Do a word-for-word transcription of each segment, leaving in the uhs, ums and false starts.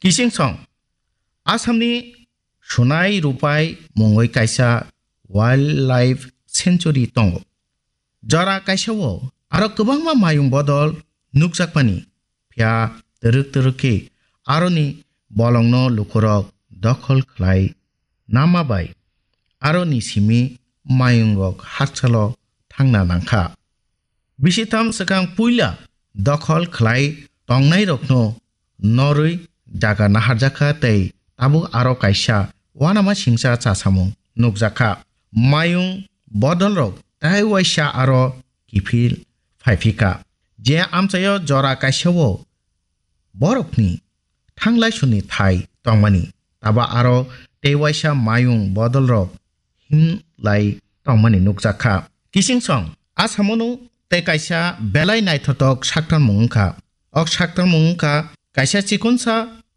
Kiching song, Assamni Sunai Rupai mungwi kaisa wildlife sanctuary tongo. Jora kaisa-o aro kwbangma mayung bodol nukjakmani, phiya twrwk twrwk khe aroni bolongno lukurok dokhol khlai nama bai aroni simi mayungrok hakchalo thangna nangkha. Bisitham swkang puila dokhol khlai tongnairokno norwi jaga naharjakha tei tabuk aro kaisa uanama singcha chasamung nukjakha. Mayung bodolrok tei waisa aro kiphil phaiphikha. Je amchaio jora kaisa-o borokni thanglai suni thai tongmani, taba aro tei waisa mayung bodolrok himlai tongmani nukjakha. Kiching song, Assamono tei kaisa belai naithotok saktarmung wngkha. Ok saktarmung wngkha kaisa chikonsa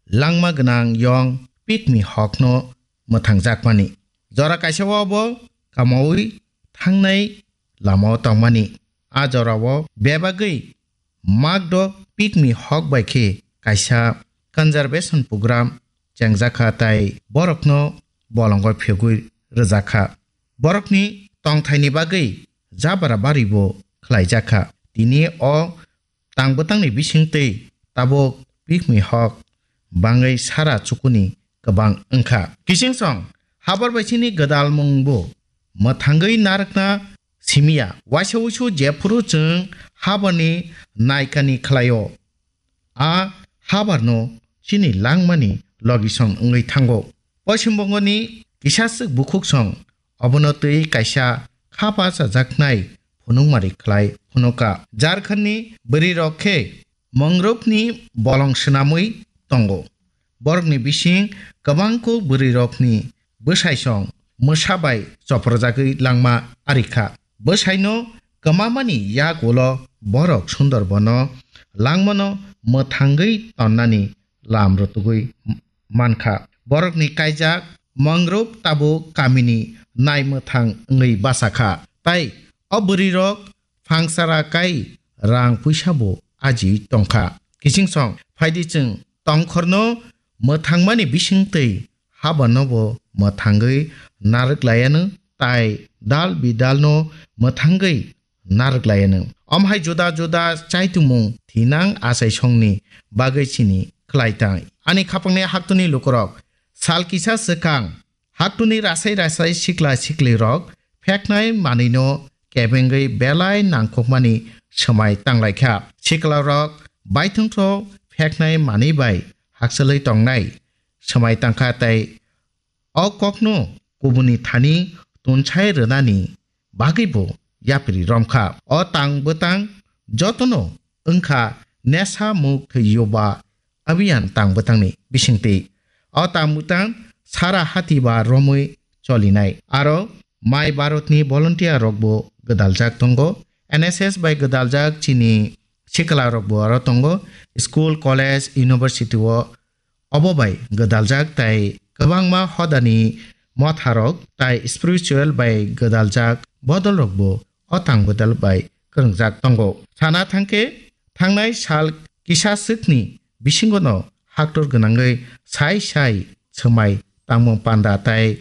langma gwnang yong pigmy hogno mwthangjakmani. Jora kaisa-o bo kamaui thangnai lamao tongmani. A jorao bebagwi Magdok pigmy hog bai khe kaisa conservation program chengjakha tei borokno bolongo phegwi rwjakha. Borokni tongthaini bagwi jabra baribo khlaijakha. Tini o tang bwtangni bisingtwi tabuk pigmy hog bangwi sara chukuni kwbang wngkha. Kiching song, habar bai chini gwdalmungbo mwthangwi narwkna simiya. Waisa uisu jephuru chwng habarni naikani khlaio, a habarno chini langmani logisong wngwi thango. Poschim Bongoni kisaswk bukhuksong obono twi kaisa khapa chajaknai phunukmari khlai phunuka. Jharkhandni bwrwirok khe Mangrove'ni bolong swnamwi tongo. Borokni bising kwbangkuk bwrwirokni bwsaisong mwsa bai choprojagwi langma arikha. Bwsaino kwmamani yak ulo borok Sundarbono langmano mwthangwi tonnani lam rwtugwi mankha. Borokni kaijak Mangrove tabuk kamini nai mwthang wngwi bachakha. Tai o bwrwirok phangsara kai rang puisa bo aji tongkha. Kiching song phaidi chwng tongkhorno mwthangmani bisingtwi habarno bo mwthangwi narwk laianw tai dal bidalno mwthangwi narwk laianw. Omhai juda juda chaitungmung thinang achaisongni bagwi chini khlai tang. Ani khapangni haktuni lukurok sal kisa swkang haktuni rasai rasai sikla siklirok pheknai manwino kebengwi belai nangkukmani swmai tanglaikha. Siklarok baithongthok pheknai manwi bai hakchalwi tongnai swmai tangkha tei o kokno kubuni thani tunsai rwnani bagwibo yapri romkha. O tang bwtang jotono wngkha Nesa Mukt Yuba Abhiyan tang bwtangni bisingtwi. O tang bwtang sara hati ba romwi cholinai. Aro Mai Bharatni volunteer rokbo gwdaljak tongo. N S S bai gwdaljak chini sikla rokbo aro tongo. School, college, university o obo bai gwdaljak tai kwbangma hodani motharok tai spiritual bai gwdaljak bodolrokbo o tang bwdal bai kwrwngjak tongo. Sana thangkhe thangnai sal kisa swkni bisingono haktor gwnangwi sai sai swmai tangmung panda tai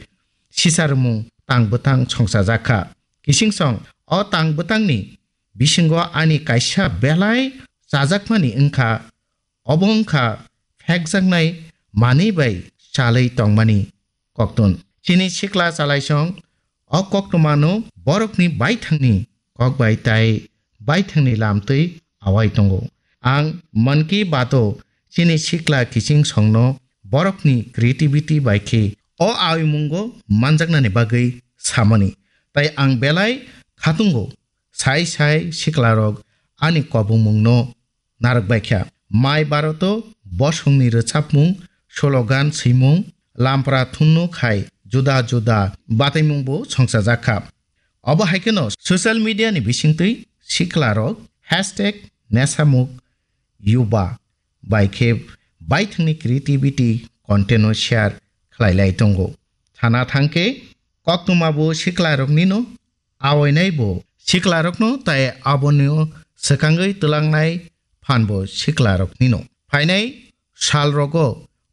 sisarwmung tang bwtang songchajakha. Kiching song o tang bwtangni bisingo ani kaisa belai chajakmani wngkha. Obo wngkha phekjaknai manwi bai chalwi tongmani koktun. Chini sikla chalaisong o koktwmano borokni baithangni kok bai tai baithangni lamtwi awai tongo. Ang Mann Ki Bato chini sikla kiching songno borokni creativity bai khe o awimungo manjaknani bagwi samani. Tai ang belai khatungo sai sai siklarok ani kobongmungno narwk baikha. Mai Bharoto bosongni rwchapmung, slogan swimung, lampra thunno khai juda juda bataimungbo songchajakha. Obo hai kheno social media ni bisingtwi siklarok hashtag nesamuk yuba bai khe baithangni creativity content no share khlai lai tongo. Sana thangkhe koktwmabo siklaroknino awainaibo siklarokno tai aboni swkangwi twlangnai phanbo siklaroknino. Phainai salrogo